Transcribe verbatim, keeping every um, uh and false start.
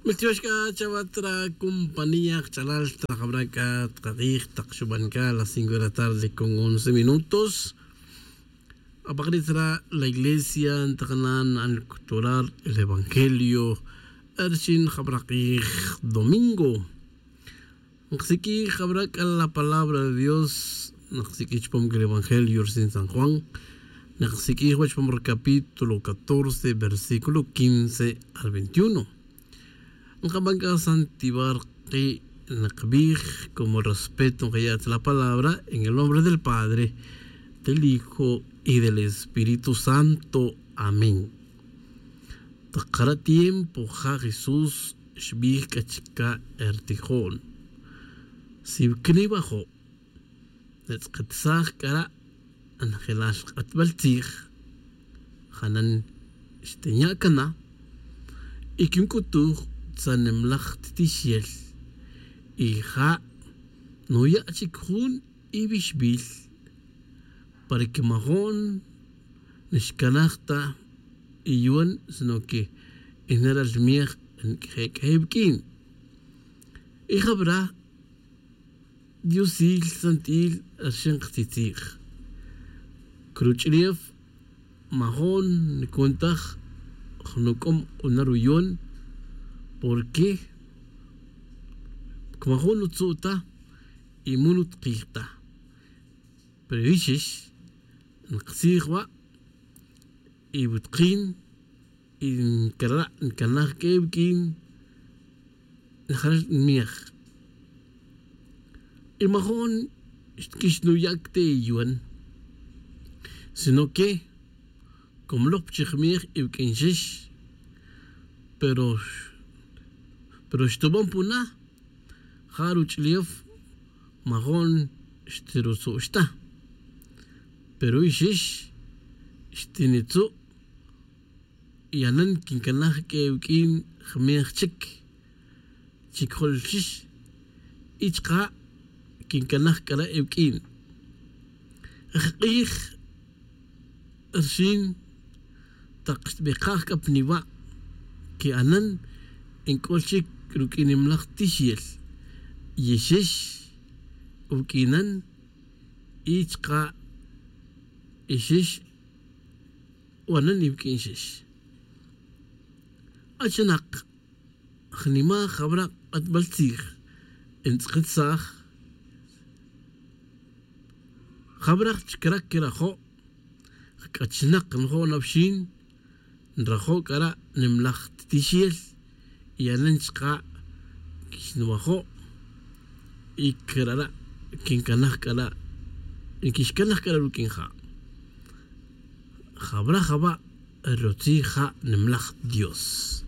Miltiox c'a chawa tra compañía kch'alal tra jabra c'a tkakij tak xuban c'a las cinco de la tarde con once minutos. Apakrit ra la iglesia ntakana na'an lcuturar el evangelio. Arxin jabra kij domingo nksiq'uij jabra c'a la palabra de dios. Nksiq'uij chupam c'a el evangelio rsin san juan. Nksiq'uij wach chupam ri capítulo catorce versículo quince al veintiuno. Nkaban c'a santivar ki' nkbij como respeto nkaya' ta la palabra en el nombre del padre, del hijo y del espíritu santo. Amén. Takara' tiempo ja jesús xbij c'a chica' ertijo'n. Si cniwajo' netz'ketsaj c'a ra' njelal k'atbal tzij. Janan xtinya' cana y quinc'utuj tzanimlaj ttixel. Y ja' nuya' chic jun iwixbil para que majo'n nixcanaj ta iyuan sino que inera' lmej nq'ueq'uej iwuq'uin. Y jabra' diosil santi'il rxin ktitzij. Cruch'ulef majo'n ncuntaj jnuc'om k'una ruyon. Porque majo'n nutzu' ta y mu nutkij ta. Pero yixix nkatzij wa' y wutkin y ncara' ncanaj q'ue wuq'uin. Njaral nmej y majo'n xtquix nuyac te iyuan sino que como lok pichij mej iwuq'uin xix. Pero pero xtuban puna ja ruch'ulef majo'n xtirutzu'x ta. Pero ixix xtinitzu' y anan quincanaj q'ue wuq'uin jmej chic. Chic jolxix y chka' quincanaj c'a ra' iwuq'uin. Jk'ij rxin tak xtbikaj c'a pa niwa' que anan nc'ul chic ruq'uinimlaj tixel. Yixix wuq'uinan y chka' ixix wanan iwuq'uin xix. Achinak jnima jabra' k'atbal tzij ntz'ikitsaj. Jabra' chicra' quirajo' jc'achinak njo' na pixin nrajo' c'a ra' nimlaj ttixel. Y anen chka' quixnwajo' y cra' ra' quincanaj c'a ra' nquixcanaj c'a ra' ruq'uin ja'. Jabra' jaba' rutzij ja' nimlaj dios.